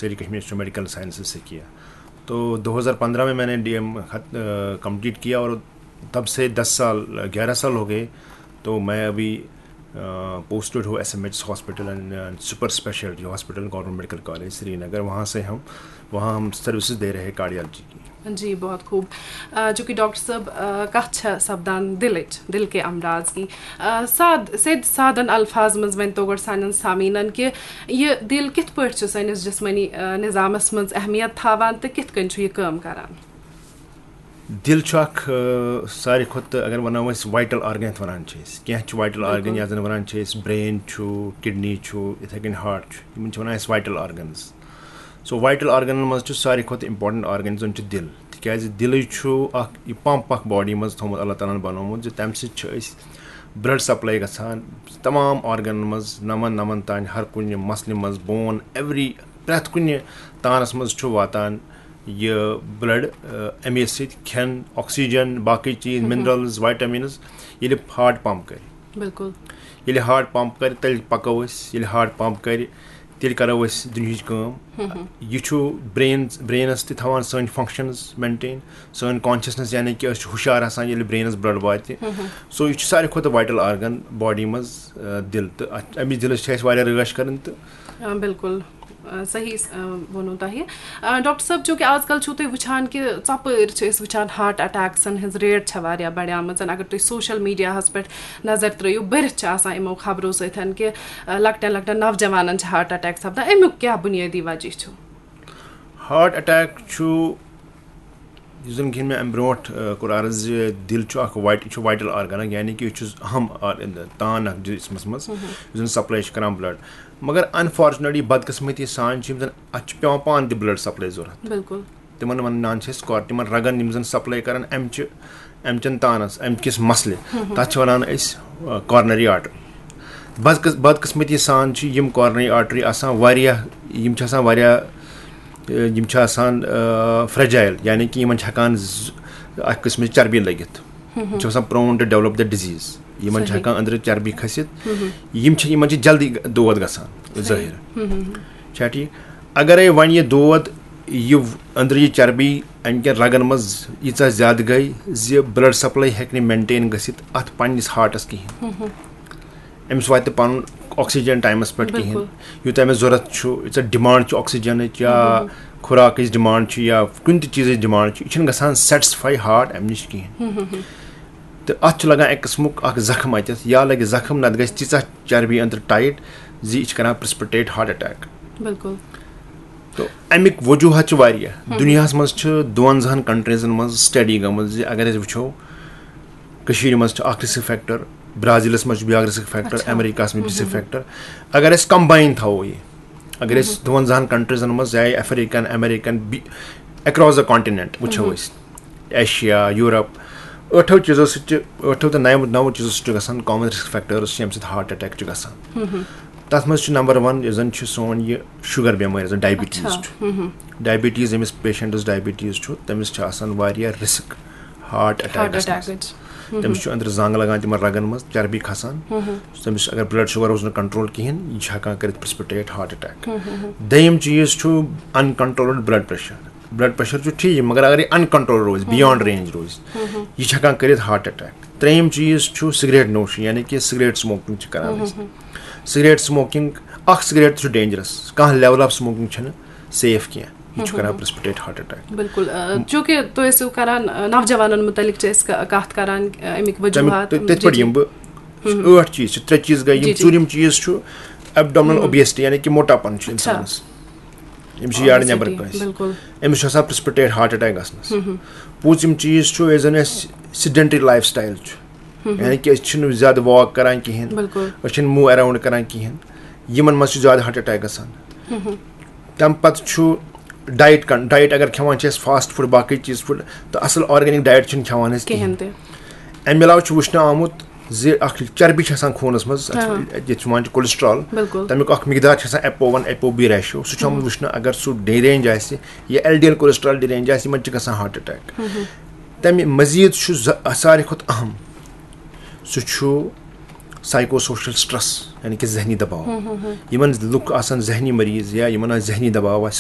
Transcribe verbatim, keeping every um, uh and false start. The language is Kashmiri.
Sri Kashmir institute of medical sciences سے کیا۔ تو دو ہزار پندرہ میں میں نے ڈی ایم کمپلیٹ کیا، اور تب سے دس سال، گیارہ سال ہو گئے۔ تو میں ابھی پوسٹڈ ہوں S M H hospital and super speciality hospital, government medical college Srinagar. وہاں سے ہم وہاں ہم سروسز دے رہے ہیں کارڈیالوجی کی۔ جی، بہت خوب۔ آ، چونکہ ڈاکٹر صٲب، آ، کتھ چھےٚ سپدان دلٕچ، دل کے امراض کی۔ آ، ساد سیٚدۍ سادن الفاظ منٛز ؤنۍ تو گۄڈٕ سانٮ۪ن سامعیٖنن کہِ یہِ دِل کِتھ پٲٹھۍ چھُ سٲنِس جسمٲنی، آ، نظامس منٛز اہمیت تھاوان تہٕ کِتھ کٔنۍ چھُ یہِ کٲم کران؟ دِل چھُ اکھ، آ، ساروی کھۄتہٕ، اگر ونو أسۍ، وایٹل آرگن یتھ ونان چھِ أسۍ، کینٛہہ چھِ وایٹل آرگن بِلکُل۔ یتھ زن ونان چھِ أسۍ برین چھُ، کڈنی چھُ، یِتھے کٔنۍ ہارٹ چھُ، یِمن چھِ ونان أسۍ وایٹل آرگنز۔ سو وایٹل آرگنن منٛز چھُ ساروی کھۄتہٕ امپورٹنٹ آرگن یُس زن چھُ دِل، تِکیازِ دِلٕے چھُ اکھ یہِ پمپ اکھ باڈی منٛز تھوٚومُت اللہ تعالیٰ ہن بنوومُت، زِ تمہِ سۭتۍ چھِ أسۍ بلڈ سپلاے گژھان تمام آرگنن منٛز، نمن نمن تانۍ، ہر کُنہِ مسلہِ منٛز، بون، ایوری، پرٛٮ۪تھ کُنہِ تانس منٛز چھُ واتان یہِ بلڈ۔ اَمے سۭتۍ کھٮ۪ن، آکسیجن، باقٕے چیٖز، منرلز، وایٹامنز، ییٚلہِ ہارٹ پمپ کرِ، بِلکُل۔ ییٚلہِ ہارٹ پمپ کرِ، تیٚلہِ پکو أسۍ۔ ییٚلہِ ہارٹ پمپ کرِ، تیٚلہِ کرو أسۍ دُنیہٕچ کٲم۔ یہِ چھُ برین، برینس تہِ تھاوان سٲنۍ فنکشنز مینٹین، سٲنۍ کانشسنس، یعنی کہِ أسۍ چھِ ہُشار آسان ییٚلہِ برینس بلڈ واتہِ۔ سو یہِ چھُ ساروی کھۄتہٕ وایٹل آرگن باڈی منٛز، آ، دِل، تہٕ اتھ، امِچ دِلس چھِ اَسہِ واریاہ رٲچھ کرٕنۍ تہٕ۔ آ، بِلکُل۔ آ، صحیح، آ، ووٚنوٕ تۄہہِ۔ آ، ڈاکٹر صٲب، چوٗنٛکہِ آز کل چھِو تُہۍ وٕچھان کہِ ژۄپٲرۍ چھِ أسۍ وٕچھان ہارٹ اٹیکسن ہٕنٛز ریٹ چھےٚ واریاہ بڑیمٕژ۔ اگر تُہۍ سوشل میڈیاہس پٮ۪ٹھ نظر ترٲیِو، بٔرِتھ چھِ آسان یِمو خبرو سۭتۍ کہِ، آ، لۄکٹٮ۪ن لۄکٹٮ۪ن نوجوانن چھِ ہارٹ اٹیک سپدان۔ اَمیُک کیٛاہ بُنیٲدی وجہ چھُ؟ ہارٹ اٹیک چھُ، یُس زن کہِ مےٚ امہِ برونٛٹھ، آ، کوٚر عرض زِ دِل چھُ اکھ وایٹ-، یہِ چھُ وایٹل آرگن اکھ، یعنی کہِ یہِ چھُ اہم آر-، تان اکھ جسمس منٛز، یُس زن سپلاے چھُ کران بلڈ۔ مگر انفارچونیٹلی، بدقسمتی سان چھِ یِم زن اتھ چھُ پٮ۪وان پانہٕ تہِ بلڈ سپلاے ضروٗرت۔ بِلکُل۔ تِمن ونان چھِ أسۍ کار-، تِمن رگن یِم زن سپلاے کران امہِ چہِ، امہِ چٮ۪ن تانس، امہِ کِس مسلہِ، تتھ چھِ ونان أسۍ، آ، کارنری آرٹری۔ بدقس-، بدقسمتی سان چھِ یِم کارنری آرٹری آسان واریاہ، یِم چھِ آسان واریاہ، آ، یِم چھِ آسان، آ، فرجائل، یعنی کہِ یِمن چھِ ہٮ۪کان ز-، اکھ قٕسمٕچ چربی لٔگِتھ۔ یِم چھِ آسان prone to develop the disease، یِمن چھِ صحیح۔ ہٮ۪کان أنٛدرٕ چربی کھٔسِتھ۔ یِم چھِ، یِمن چھِ جلدی دود گژھان ظٲہِر۔ ہُم، ہُم، ہُم۔ چھا ٹھیٖک؟ اگرے وۄنۍ یہِ دود، یہِ أنٛدرٕ یہِ چربی امہِ کٮ۪ن رگن منٛز ییٖژاہ زیادٕ گٔے زِ بلڈ سپلاے ہیٚکہِ نہٕ مینٹین گٔژھِتھ اتھ پننِس ہارٹس کِہینۍ۔ أمِس واتہِ نہٕ پنُن آکسیجن ٹایمس پٮ۪ٹھ کِہینۍ۔ بِلکُل۔ یوٗتاہ أمِس ضروٗرت چھُ، ییٖژاہ ڈِمانڈ چھِ آکسیجنٕچ یا خوراکٕچ ڈِمانڈ چھِ یا کُنہِ تہِ چیٖزٕچ ڈِمانڈ چھِ، یہِ چھِنہٕ گژھان سیٹسفاے ہارٹ امہِ نِش کِہینۍ۔ تہٕ اتھ چھُ لگان اکہِ قٕسمُک اکھ زخم اتٮ۪تھ، یا لگہِ زخم، نتہٕ گژھِ تیٖژاہ چربی أنٛدرٕ ٹایٹ زِ یہِ چھِ کران پریسپٹیٹ ہارٹ اٹیک۔ بِلکُل۔ تہٕ امیِکۍ وجوہات چھِ واریاہ۔ دُنیاہس منٛز چھِ دُوَنزاہن کنٹریزن منٛز سٹڈی گٔمٕژ زِ اگر أسۍ وٕچھو، کٔشیٖرِ منٛز چھُ اکھ رسک فیکٹر، برازیلس منٛز چھُ بیٛاکھ رسک فیکٹر، اچھا۔ امریکہس منٛز چھُ رسک فیکٹر۔ اگر أسۍ کمباین تھاوو یہِ، اگر أسۍ دُوَنزاہن کنٹریزن منٛز، چاہے افریقن، امریکن، بی-، across the continent وٕچھو أسۍ، ایشیا، یورپ، ٲٹھو چیٖزو سۭتۍ چھِ، ٲٹھو تہٕ نَیو، نَوو چیٖزو سۭتۍ چھُ گژھان کامن رسک فیکٹرس چھِ، ییٚمہِ سۭتۍ ہارٹ اٹیک چھُ گژھان۔ تتھ منٛز چھُ نمبر ون یُس زن چھُ سون یہِ شُگر بٮ۪مٲرۍ، یۄس زن ڈایبٹیٖز اچھا۔ چھُ۔ ڈایبٹیٖز، ییٚمِس پیشنٹس ڈایبٹیٖز چھُ، تٔمِس چھِ آسان واریاہ رسک ہارٹ ہارٹ اٹیکس منٛز۔ اٹیکٕچ۔ تٔمِس چھُ أنٛدرٕ زنٛگ لگان تِمن رگن منٛز، چربی کھسان۔ تٔمِس اگر بلڈ شُگر روٗز نہٕ کنٹرول کِہینۍ، یہِ چھُ ہٮ۪کان کٔرِتھ پریسپٹیٹ ہارٹ اٹیک۔ دوٚیِم چیٖز چھُ uncontrolled blood pressure۔ Blood pressure چھُ ٹھیٖک، مگر اگر یہِ uncontrolled روزِ، beyond range روزِ، یہِ چھُ ہٮ۪کان کٔرِتھ ہارٹ اٹیک۔ ترٛیٚیِم چیٖز چھُ سگریٹ نوشی، یعنی کہِ سگریٹ سموکنگ چھِ کران أسۍ۔ سگریٹ سموکنگ، اکھ سگریٹ تہِ چھُ ڈینجرس، کانٛہہ لیول آف سموکنگ چھَنہٕ سیف کینٛہہ، یہِ چھُ کران پریسپٹیٹ ہارٹ اٹیک۔ بِلکُل۔ آ، چوٗنٛکہِ تُہۍ ٲسِو کران، آ، نوجوانن مُتعلق چھِ أسۍ ک-، کتھ کران، آ، امیِکۍ تَمیُک وجوہات۔ تہِ-، تِتھ پٲٹھۍ جی، یِم بہٕ ٲٹھ چیٖز چھِ، ترٛےٚ چیٖز گٔے یِم۔ جی، جی۔ ژوٗرِم چیٖز چھُ ایبڈومنل اوبیسٹی، یعنی کہِ موٹاپن چھُ اچھا۔ انسانس۔ أمِس چھُ یارٕ نیبر Obesity، کٲنٛسہِ۔ بِلکُل۔ أمِس چھُ آسان پریسپٹیٹ ہارٹ اٹیک گژھنس۔ پوٗژِم چیٖز چھُ، یُس زن اَسہِ سیڈنٹری لایف سٹایل چھُ، یعنی کہِ أسۍ چھِنہٕ زیادٕ واک کران کِہینۍ، بِلکُل۔ أسۍ چھِنہٕ موو اراوُنڈ کران کِہینۍ، یِمن منٛز چھُ زیادٕ ہارٹ اٹیک گژھان۔ تَمہِ پتہٕ چھُ ڈایٹ کن-، ڈایٹ اگر کھٮ۪وان چھِ أسۍ فاسٹ فوڈ، باقٕے چیٖز فوڈ، تہٕ اصل آرگینک ڈایٹ چھِنہٕ کھٮ۪وان أسۍ کِہینۍ۔ کِہینۍ تہِ۔ امہِ علاوٕ چھُ وٕچھنہٕ آمُت زِ اکھ چربی چھِ آسان خوٗنس منٛز، اتھ چھِ، یتھ چھِ وَنان چھِ cholesterol، بِلکُل۔ تمیُک اکھ مقدار چھُ آسان ایپ او ون، ایپ او بی ریشو، سُہ چھُ آمُت وٕچھنہٕ اگر سُہ ڈی رینج آسہِ یا L D L cholesterol D range آسہِ، یِمن چھِ گژھان ہارٹ اٹیک۔ تمہِ مزید چھُ ز-، ساروی کھۄتہٕ اہم، سُہ چھُ سایکو سوشل سٹریس، یعنی کہِ ذہنی دباو۔ یِمن لُکھ آسان ذہنی مریض یا یِمن آسہِ ذہنی دباو آسہِ،